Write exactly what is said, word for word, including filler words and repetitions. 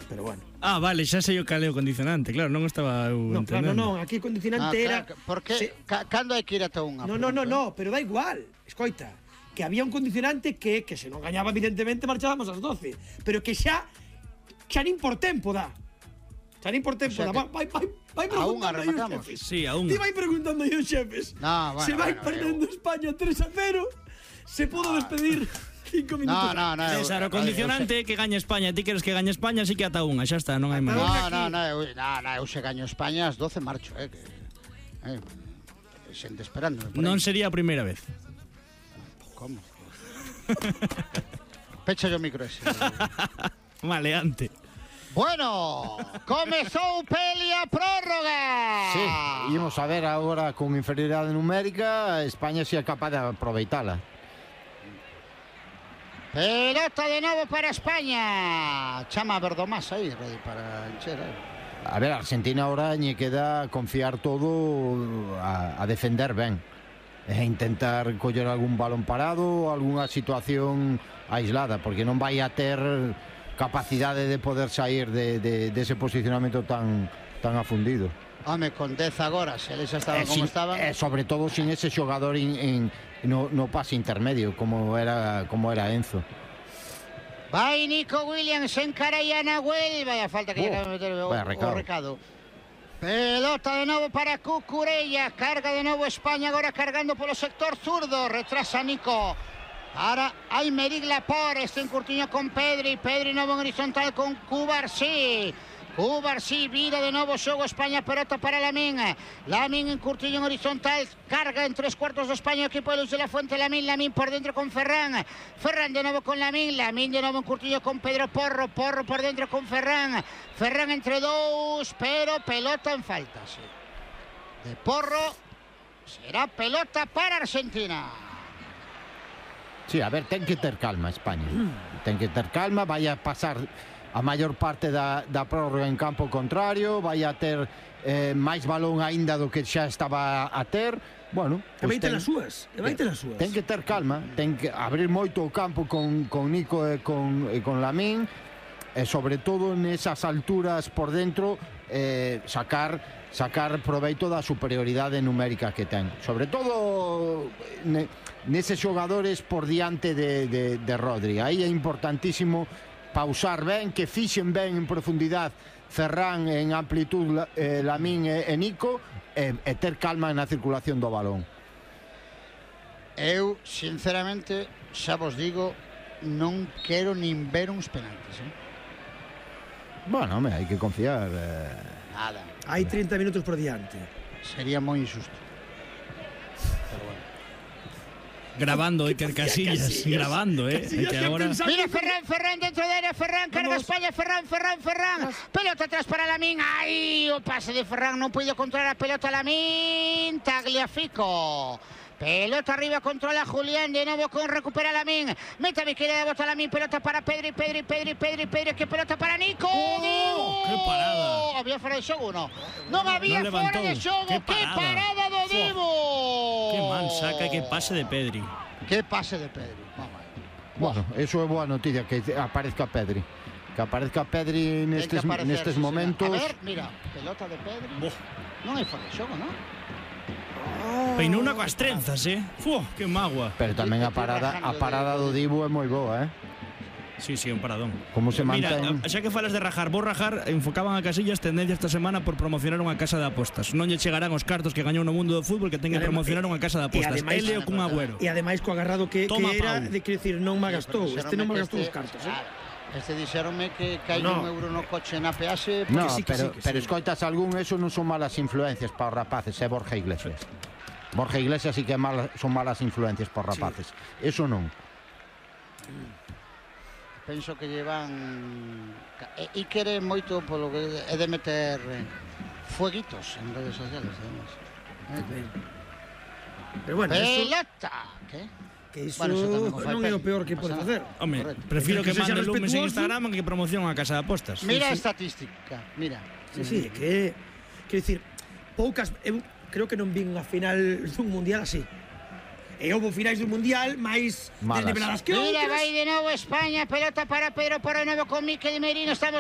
pero bueno. Ah, vale, xa sei o caleo condicionante, claro, non estaba eu No, claro, entendendo. non, aquí o condicionante Ah, era... claro, porque se... ca, cando hai que ir ata unha? No, no, no, no, pero da igual, escoita, que había un condicionante que, que se non gañaba evidentemente marchábamos ás doce, pero que xa, xa nin por tempo dá. Xa nin por tempo O sea dá, vai, vai, vai a unha preguntando aí os rematamos. xefes. Sí, a unha. Ti vai preguntando aí os xefes. No, bueno, se vai bueno, perdendo eu- España tres a cero, se podo despedir cinco minutos. No, no, no. César, o condicionante é que gaña España. Ti queres que gañe España, así que ata unha, xa está, non hai máis. No, no, no, eu, no, no, eu se gaño España ás doce marcho, eh, que, eh, xente esperando. Non sería a primeira vez. Como? Pecha o micro ese. Maleante. Bueno, comezou peli a prórroga. Sí, ímos a ver agora con inferioridade numérica, España si é capaz de aproveitala. Pelota de novo para España. Chama Verdomás aí, ready para encher. Eh. A ver, Argentina ahora lle queda confiar todo a, a defender ben e intentar coller algún balón parado, algunha situación aislada, porque non vai a ter capacidade de poder sair de, de, de ese posicionamento tan, tan afundido. Home, con dez agora, se eles estaban E como sin, estaban. e sobre todo sin ese xogador in, in, no, no pase intermedio como era, como era Enzo. Vai Nico Williams, encara a Nahuel. Vaya falta que Oh, llega a meter o, vaya recado. o recado. Pelota de novo para Cucurella. Carga de novo España, agora cargando polo sector zurdo. Retrasa Nico. Para Aymeric Laporte, este encurtiño con Pedri. Pedri novo en horizontal con Cubarsí. Cubarsí vira de novo xogo España, pelota para Lamín. Lamín en curtiño en horizontal, carga en tres cuartos de España, equipo de Luis de la Fuente. Lamín, Lamín por dentro con Ferran. Ferran de novo con Lamín. Lamín de novo en curtiño con Pedro Porro. Porro por dentro con Ferran. Ferran entre dous, pero pelota en falta, sí. De Porro, será pelota para Argentina. Sí, a ver, ten que ter calma España. Ten que ter calma, vai a pasar a maior parte da, da prórroga en campo contrario, vai a ter eh, máis balón aínda do que xa estaba a ter. Bueno, E vai ter ten, as súas, e vai ter as súas. ten que ter calma, ten que abrir moito o campo con, con Nico e con, e con Lamín, e sobre todo nesas alturas por dentro eh, sacar sacar proveito da superioridade numérica que ten. Sobre todo ne, neses xogadores por diante de, de, de Rodri. Aí é importantísimo pausar ben, que fixen ben en profundidade Ferran, en amplitud eh, Lamín e, e Nico, e, e ter calma na circulación do balón. Eu, sinceramente, xa vos digo, non quero nin ver uns penaltis, eh? Bueno, home, hai que confiar. Eh... Nada. Hai trinta minutos por diante. Sería moi injusto. Pero bueno. Grabando Iker Casillas, Casillas. grabando, eh. Casillas, que que ahora... pensaba- Mira Ferran, Ferran dentro de área, Ferran, carga Vamos. España, Ferran, Ferran, Ferran. Pelota atrás para Lamín. Ay, o pase de Ferran, non puido controlar a pelota Lamín. Tagliafico. Pelota arriba, controla Julián, de novo con recupera Lamín. Meta a izquierda, bota Lamín, pelota para Pedri, Pedri, Pedri, Pedri, Pedri, que pelota para Nico. Oh, qué parada. Había fora de xogo, non? Non había Non fora levantou. de xogo. Qué Que parada. parada do Divo. Que mal saca, que pase de Pedri. Que pase de Pedri. Mamá. Bueno, eso é boa noticia, que aparezca Pedri. Que aparezca Pedri Ten que nestes, aparecer, nestes sí, señor. momentos. A ver, mira, pelota de Pedri. Boh. Non hai fora de xogo, non? Peinou unha coas trenzas, eh. Fu, que magua. Pero tamén a parada, a parada do Dibu é moi boa, eh? Sí, sí, un paradón. Como se Mira, mantén. xa que falas de rajar, vos rajar, enfocaban a Casillas tendencia esta semana por promocionar unha casa de apostas. Non lle chegarán os cartos que gañou no mundo do fútbol que ten que E ademais- promocionar unha casa de apostas. e ademais- Ele o cun agüero. E ademais co agarrado que, Toma, que era, Pau. de que decir, non me gastou. Pero Este non me que gastou os este- cartos, eh? claro, Este dixeronme que cae No. un euro no coche na peaxe. No, sí, que pero, sí, que pero sí. escoitas algún, eso non son malas influencias para os rapaces, é Borja Iglesias. Borja Iglesias sí que mal, son malas influencias para os rapaces. Eso non. Penso que llevan e, e quere moito polo que é de meter eh, fueguitos en redes sociales, además. Eh, Pero bueno, eso, Pelota. ¿Qué? que iso Bueno, eso tamén o fai non é o Pedri, peor que non pode pasa facer. Home, Correcto. prefiro Que que sexa mande lumes en respetuoso. Instagram que que promocione unha casa de apostas. Mira a sí. estatística, mira. Sí, sí, que quero dicir, poucas, eu creo que non vin unha final dun mundial así. E houve finais do mundial máis Malas. desniveladas que Mira, outras. vai de novo España, pelota para Pedro por de novo con Mikel Merino, estamos